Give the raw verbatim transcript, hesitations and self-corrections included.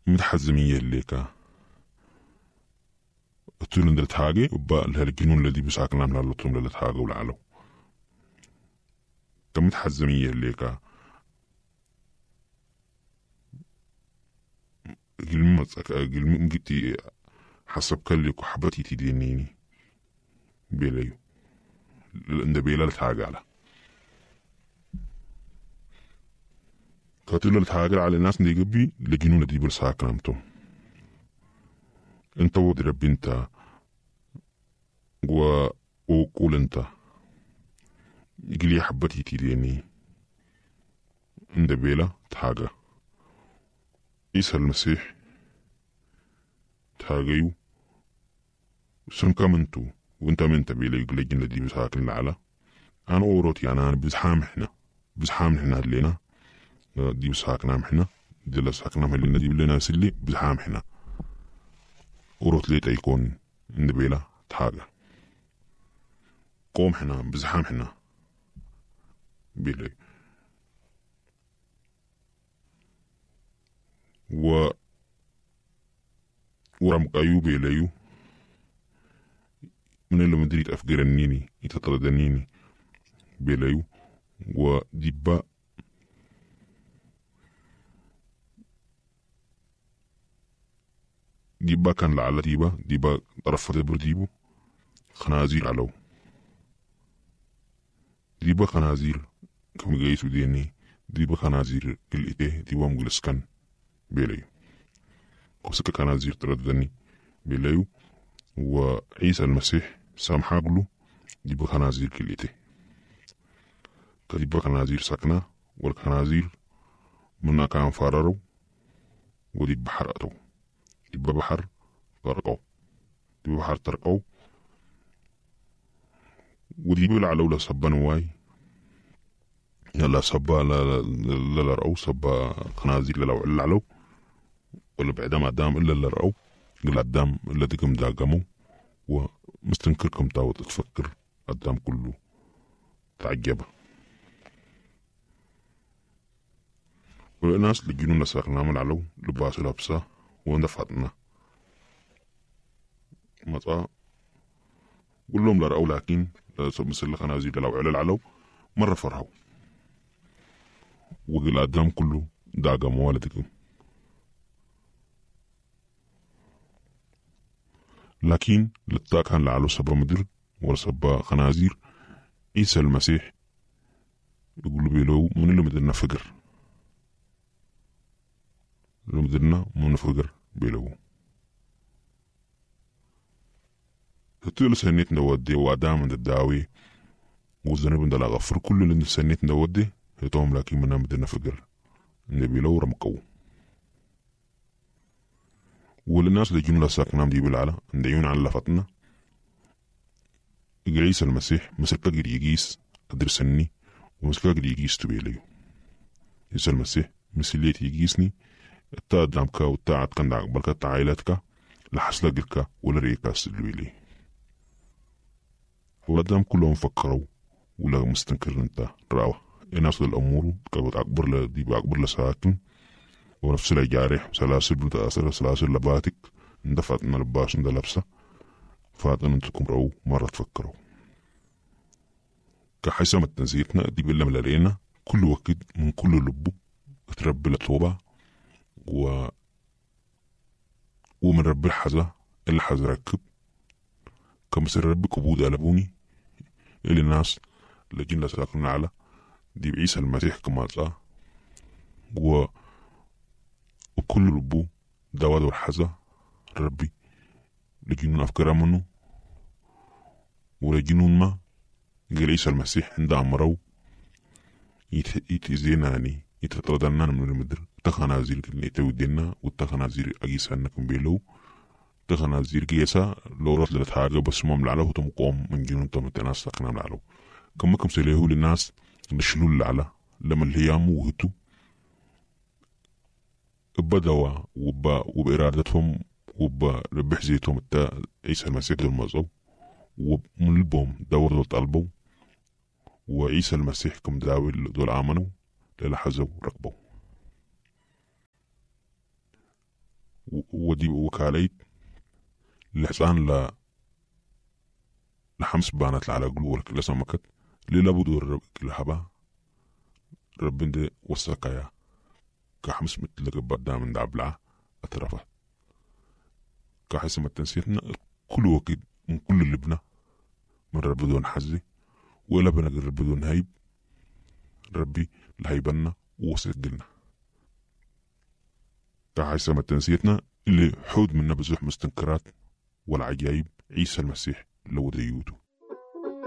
متحزمية ليكا تولن درت وبا الجنون الذي بساكنا من اللطم لتحاجة ولعلو كمتحزمية ليكا قلمي مجتي حسب كلك وحبتي تدينيني بيليو عند بيلا لتحاجة على كاتلو لتحاجة على الناس اللي قبي لجنون دي برساكنامتو انت ود ربي انت و وقول انت يقلي حبتي تديني عند بيلا تحاجة عيسى المسيح تحاجيو سن كمنتو وانت من تبيلا يقلي جنة دي بساكن العلا انا اوروت يعني انا بزحام احنا بزحام احنا لينا دي بساكن احنا دي لا ساكن لنا دي لنا سلي بزحام احنا اوروت ليت يكون عند بيلا تحاجة قوم حنا بزحام حنا بيلي و ورمقايو بيليو من اللي مدريت أفجرنيني يتطردنيني بيليو وديبا ديبا كان لعل ديبا ديبا طرف دبر ديبو خنازير علو ديبا خنازير كم جيسو ديني ديبا خنازير قلئته ديبا مجلسكن بيليو قصك خنازير ترددني بيليو وعيسى المسيح سامحاقلو ديبا خنازير كليته كديبا خنازير سكنة والخنازير منا كان فرارو ودي بحر أتو ديبا بحر غرقو ديبا بحر ترقو ودي بيقول على سبا نواي يلا سبا لا لا لا لا رأو سبا خنازير لا لا علو ولا بعدام عدام إلا اللي رأو قل عدام إلا دقم داقمو ومستنكركم تاوت تفكر قدام كله تعجب والناس اللي جنون لساقنا من علو لباس لابسة وندفعتنا مطا قول لهم لا رأوا لكن مثل الخنازير لو على العلو مرة فرحوا وقل قدام كله داقم والدكم لكن لتا كان لعلو سبا مدر ولا سبا خنازير عيسى المسيح يقول بيلو من اللي مدرنا فقر اللي مدرنا من فقر بيلو تطيل سنيت نودي وادام عند الداوي وزنب عند غفر كل اللي سنيت نودي يتوم لكن منا مدرنا فقر النبي لو رمقو والناس اللي جملة ساكنام دي بالعلا عند عن لفتنا عيسى المسيح مسكا يجيس أدرسني ومسكا يجيس تبيليو عيسى المسيح مسليت يجيسني التا دامكا والتا عدكن دعقبلكا تا عائلتك لحسلا قلكا ولا ريكا سلويلي ولدام كلهم فكروا ولا مستنكر انت راوة الناس الأمور كانت أكبر لدي بأكبر لساكن ونفس الجارح سلاسل بنت سلاسل لباتك اندفعت من لباس اند لابسة فاتن انتكم رو مرة تفكروا كحسم التنزيتنا دي بالله ملارينا كل وقت من كل لبو تربي لطوبة و ومن رب الحزة اللي حز ركب كمسر رب كبود قلبوني اللي الناس اللي جينا ساكنين على دي بعيسى المسيح كما و وكل ربو دواد والحزة ربي لجنون أفكار منه ولجنون ما قال عيسى المسيح عند أمره يتزيناني يتطردنا من المدر تخنازير اللي تودينا والتخنازير أجيس أنكم بيلو تخنازير جيسا لو رحت لتحاجة بس ما ملعلو تمقوم من جنون تم تناس ساكنا ملعلو كم كم سليه للناس نشلول العلا لما الهيام وهتو بدوا وب وبإرادتهم وبربح زيتهم التا عيسى المسيح دول مزو ومن لبهم دور طلبوا وعيسى المسيح كم داوي دول آمنوا للحزوا ركبوا ودي وكاليت لحسان ل لحمس بانت على قلوب لسمكت للابد الرب لهبا ربنا ده وسكايا كحمس مثل قدام من دابلع أترفه كحسم التنسيتنا كل وقت من كل لبنا من رب دون حزي ولا بنا رب دون هيب ربي لهيبنا وسجلنا كحسم التنسيتنا اللي حود منا بزح مستنكرات والعجائب عيسى المسيح لو ديوتو.